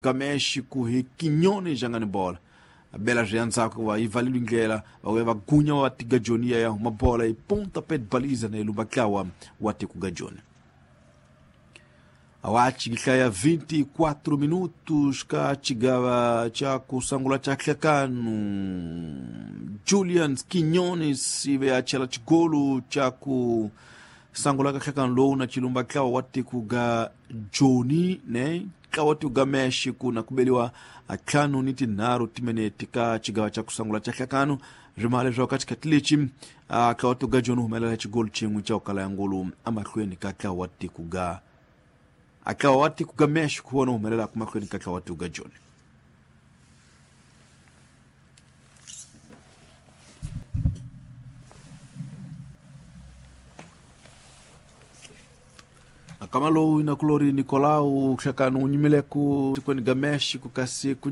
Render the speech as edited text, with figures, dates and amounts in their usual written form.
Ga México hi Quiñones jangani bola bela zvianzako va ivalile ndlela va va gunya va tiga joni ya huma bola i ponta pé de baliza na ilumba tlawa wa tikuga joni awachi kihlaya 24 minutos ka chigava cha kusangula cha hlekanu Julian Quiñones ive achela chigolu cha kusangula ka hlekanu lowu na chilumba tlawa wa tikuga joni ne tlawa tikuga México na kubeliwa atlhanu ni tinharhu timinete ka chigawa cha kusangula cha hlekanu rimale swa ka xikhathi lexi tlawa tikuga joni humelela xigolu xin'we cha ukala ya ngulu amahlweni ka tlawa tikuga atlawa wa tikuga México wona humelelaka mahlweni ka tlawa tikuga joni. Akama lowu inakulori Nicolau hlekanu wu nyimile ku tikweni ga México kasi ku